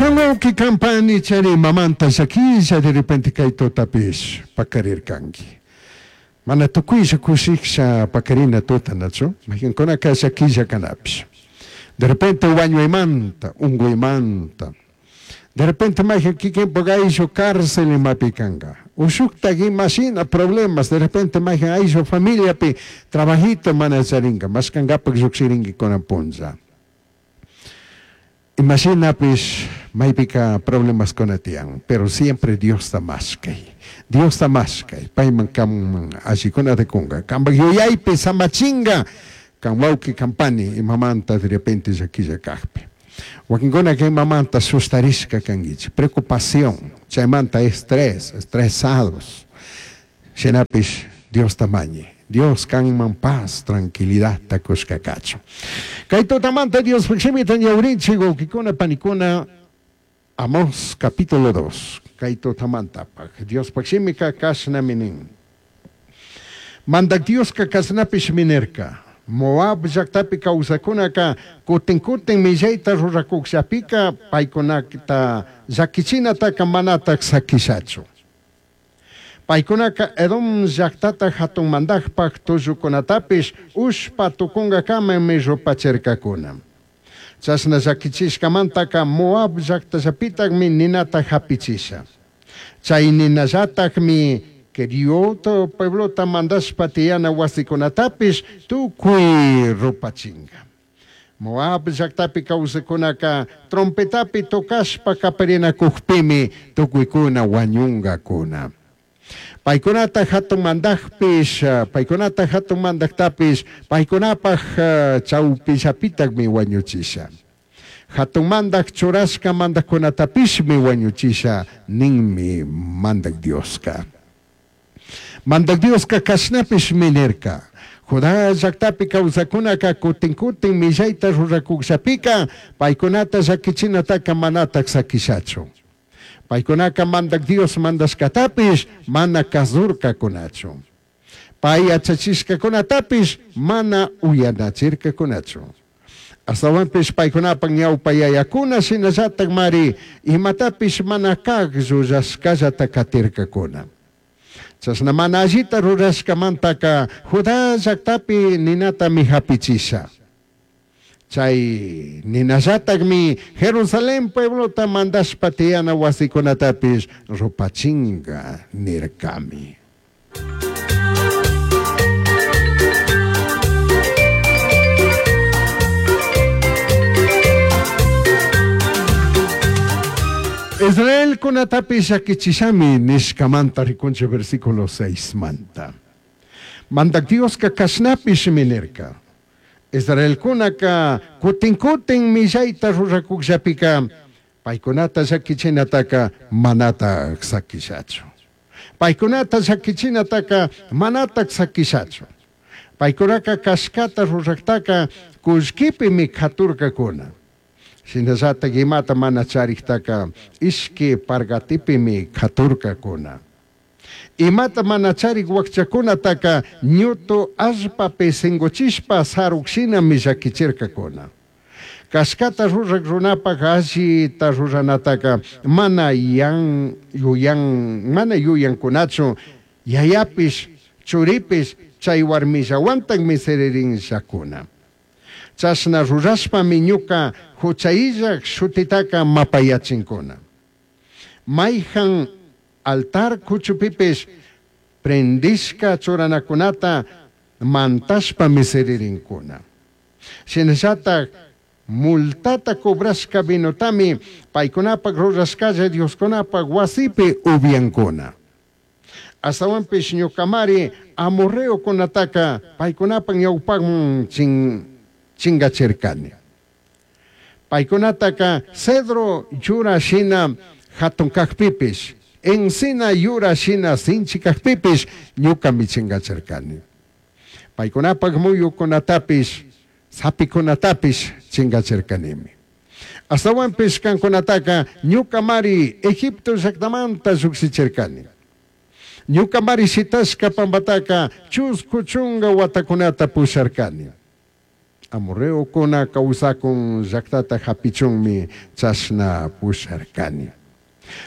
Can wauqui can pani chari imamanta llaquilla de repente cai tutapish pacarircangui. Mana tucuilla cushijsha pacarina tuta nachu? Maijancunaca llaquilla canapish. De repente huañuimanta, ungüimanta. De repente maijan kikinpak ayllu cárcel imapi canga. O shujtaj ima shina problemas, de repente maijan ayllu familiapi trabajito mana charinga, mashcangapak llujshiringui cunan punlla. Ima shinapish maipica problemascuna tiyan, pero siempre Diosta mashcai. Diosta mashcai, paiman canman allicunata cunga. Cambaj yuyaipi samachinga, can huauqui, can pani imamanta de repente llaquilla cajpi. Huaquincunaca imamanta sustarishca canguichij, preocupación, chaimanta estrés, estresados. Shinapish Diosta mañi, Dios canman paz, tranquilidadta cushca cachun. Cai tutamanta Diospaj Shimita ñahurinchij, huauquicuna, panicuna, Amós capítulo dos, cai tutamantapaj Diospaj Shimica cashnami nin. Mandaj Diosca cashnapishmi nirca, Moab llajtapi causacunaca cutin cutin millaita ruracujllapica paicunata llaquichinataca manataj saquishachu. Paicunaca Edom llajtata jatun mandajpaj tullucunatapish ushpa tucungacamami rupachircacuna. Chashna llaquichishcamantaca Moab llajtallapitajmi ninata japichisha. Chai ninallatajmi Queriot pueblota mandashpa tiyana huasicunatapish tucui rupachinga. Moab llactapi causajcunaca trompetapi tocashpa caparinacujpimi tucuicuna huañungacuna. Paicunata jatun mandajpish, paicunata jatun mandajtapish paicunapaj chaupillapitajmi huañuchisha. Jatun mandaj churashca mandajcunatapishmi huañuchisha ninmi Mandaj Diosca. Mandaj Diosca cashnapishmi nirca, Judá llactapi causacunaca cutin cutin millaita ruracujllapica paicunata llaquichinataca manataj saquishachu. Paicunaca Mandaj Dios mandashcatapish mana cazurcacunachu. Pai yachachishcacunatapish mana uyanachircacunachu. Ashtahuanpish paicunapaj ñaupa yayacuna shinallatajmari imatapish mana caj llullashcallata catircacuna. Chashna mana allita rurashcamantaca Judá llactapi ninatami japichisha. Chai ninallatajmi Jerusalén pueblota mandashpa tiyana huasicunatapish rupachinga nircami. Israelcunatapish llaquichishami nishcamanta ricunchij versículo seismanta. Mandaj Diosca cashnapishmi nirca, Israelcunaca cutin cutin millaita ruracujllapica paicunata llaquichinataca manataj saquishachu. Paicunata llaquichinataca manataj saquishachu. Paicunaca cashcata rurajtaca cullquipimi caturcacuna. Shinallataj imata mana charijtaca ishqui pargatipimi caturcacuna. Imata mana charij huajchacunataca ñutu allpapi singuchishpa saruj shinami llaquichircacuna. Cashcata ruraj runapaj allita ruranataca mana yan yuyan mana yuyancunachu, yayapish, churipish chai huarmillahuantajmi siririnllacuna. Chashna rurashpami ñuca juchaillaj shutitaca mapayachincuna. Maijan altar cuchupipish prendishca churanacunata mantashpami siririncuna. Shinallataj multata cobrashca vinotami paicunapaj rurashcalla dioscunapaj huasipi ubyancuna. Ashtahuanpish ñucamari amorreocunataca paicunapaj ñaupajman chingachircani. Paicunataca cedro yura shina jatun cajpipish, encina yura shina sinchi cajpipish ñucami chingachircani. Paicunapaj muyucunatapish, sapicunatapish chingachircanimi. Ashtahuanpish cancunataca ñucamari Egipto llactamanta llujshichircani. Ñucamari shitashca pambataca chuscu chunga huatacunata pusharcani. Amorreocuna causacun llajtata japichunmi chashna pusharcani.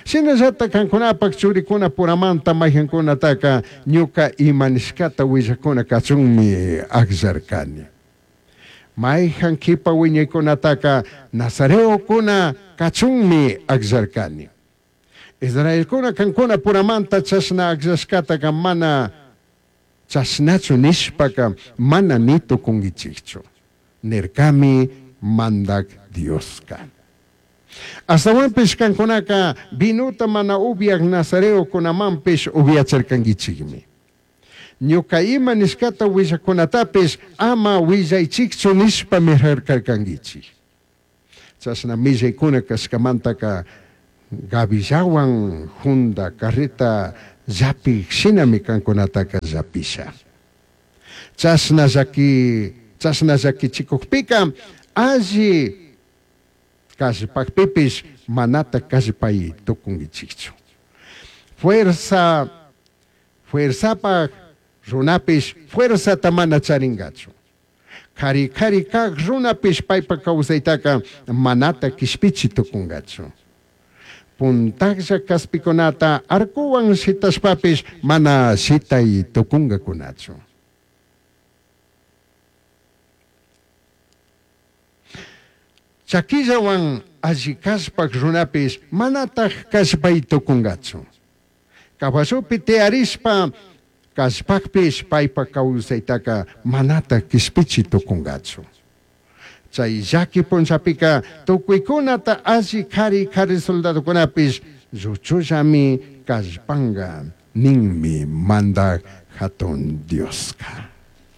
Shinallataj cancunapaj churicunapuramanta maijancunataca ñuca ima nishcata huillajcuna cachunmi agllarcani. Maijan quipa huiñaicunataca nazareocuna cachunmi agllarcani. Israelcuna cancunapuramanta chashna agllashcataca mana chashnachu nishpaca mana ni tucunguichijchu, nircami Mandaj Diosca. Ashtahuanpish cancunaca vinota mana ubyaj nazareocunamanpish ubyachircanguichijmi. Ñuca ima nishcata huillajcunatapish ama huillaichijchu nishpami jarcarcanguichij. Chashna millaicuna cashcamantaca gavillahuan junda carreta llapij shinami cancunataca llapisha. Chashna llaqui chashna llaquichicujpica alli callpajpipish manataj callpai tucunguichijchu. Fuerza fuerzapaj runapish fuerzata mana charingachu. Cari cari caj runapish paipaj causaitaca manataj quishpichi tucungachu. Puntajlla caspicunata arcohuan shitashpapish mana shitai tucungacunachu. Chaquillahuan alli callpaj runapish manataj callpai tucungachu. Caballopi tiyarishpa callpajpish paipaj causaitaca manataj quishpichi tucungachu. Chai llaqui punllapica tucuicunata alli cari cari soldadocunapish lluchullami callpanga ninmi Mandaj Jatun Diosca.